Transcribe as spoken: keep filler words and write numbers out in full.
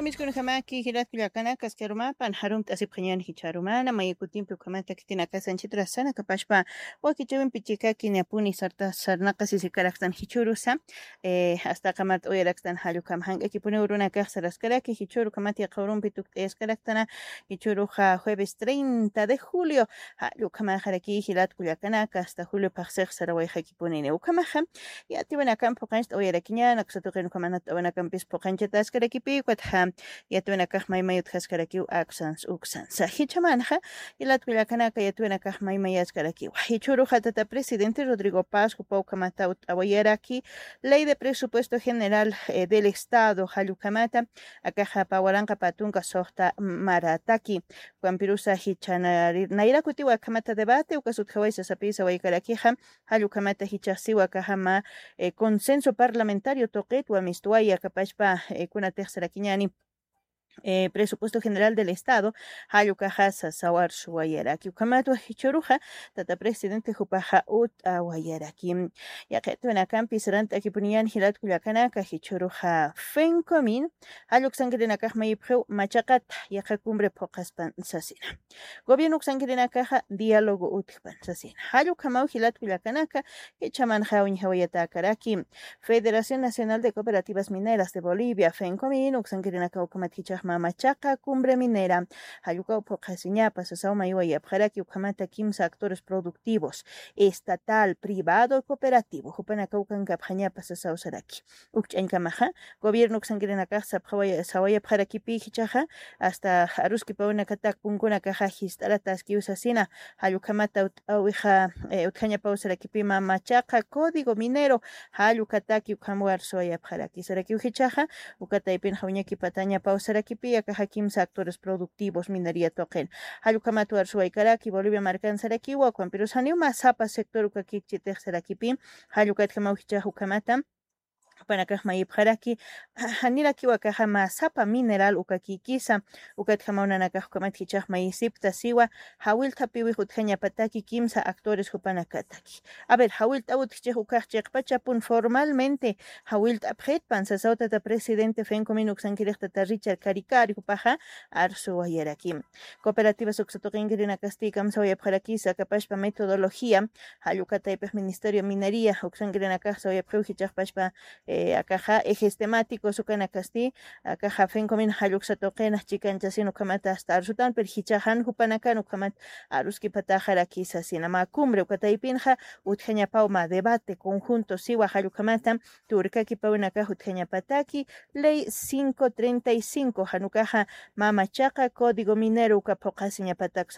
Amiskun jamaki jilat kullakanakas karumapan jarumt'asipxañan jichharumana mayakutimpi ukhamata kitinakasanchitrasana kapashpa wakichawimpi chikaki niapuni sarta sarnaqasisikaraktan jichurusa. Hasta qamart'awayarakstan jallukam jank'akipuni urunakax saraskaraki jichuru kamati qawrumpi tukt'ayaskaraktana jichuruxa jueves treinta de julio. Jallukamaxaraki jilat kullakanaka hasta julio phaxsix sarawayxakipunini ukhamaxa. Yatiwinakampi phuqanchta awayarakiñana kusatuqin ukhamanata awanakampis phuqanchata askarakipi ukatxa yatiwinakax maymay utjaskarakiw aksans uksansa jichamanxa. Jilat kullakanaka yatiwinakax maymayaskarakiwa jichuruxa tata presidente Rodrigo Paz jupa ukhamata ut'awayaraki ley de presupuesto general del estado jallukhamata akaxa pawaranqa patunka suxta marataki. Jukampirusa jichhanayrakutiwa akhamata debate ukasutjaway sasapisa waykarakixa. Jallukhamata jichhaxsiwa akajama consenso parlamentario tuqitwa mistuwaya kapashpa kunatixsarakiñani presupuesto general del estado. Jallukaxa sasawar suwayaraki ukhamatwa jichuruxa tata presidente jupaxa ut'awayaraki. Yaqitwinakampi sarant'akipuniyan jilat kullakanaka jichuruxa fencomin jalluksankirinakax mayipxiw machaqata yaqha cumbre phuqaspan sasina. Gobierno uksankirinakaxa diálogo utjpan sasina jallukhamaw jilat kullakanaka. Jichhamanxa uñjawayatäkaraki federación nacional de cooperativas mineras de bolivia fencomin uksankirinakaw ukhamat jichhaxma machaqa cumbre minera jallukaw phuqhasiñapa sasaw maywayapxaraki ukhamata kimsa actores productivos estatal privado cooperativo jupanakaw kankapxañapa sasaw saraki. Ukch'añkamaxa gobierno uksankirinakax sapxawaya sawayapxarakipi jichhaxa hasta aruskipawinakatak punkunakaxa jist'arataskiw sasina. Jallukhamata ut'awixa utjañapaw sarakipima machaqa código minero jallukataki ukhamwar suwayapxaraki sarakiw jichhaxa. Ukataypinxa uñakipatañapaw sarakipi akaxa kimsa actores productivos minería tuqin jallukhamat warsuwaykaraki bolivia markan sarakiwa ukhampirusaniw masapa sector ukakikchitix sarakipi. Jallukatjamaw jichhax ukhamata jupanakax mayipxaraki janirakiwa akaxa masapa mineral ukakikisa. Ukatjamaw nanakax ukhamat jichhax mayisipta siwa jawilthapiwix utjañapataki kimsa actores jupanakataki. A ver jawilt'awut jichhax ukax chiqpachapun formalmente jawilt'apxitpan sasaw tata presidente fencomin uksankirix tata richard caricari jupaxa arsuwayarakim. Cooperativas uksatuqinkirinakasti kamsawayapxarakisa kapashpa metodología jallukataypix ministerio minería uksankirinakax sawayapxiw jichhaxpashpa akaxa ejes temáticos ukanakasti akaxa fencomin jalluksatuqinax chikanchasin ukhamata hasta arsutan pero jichhaxan jupanakan ukhamat aruskipataxarakisa sina mä cumbre ukataypinxa utjañapaw mä debate conjunto siwa jallukhamata turkakipawinakax utjañapataki ley cinco treinta y cinco janukaxa mä machaqa código minero uka phuqhasiñapatak.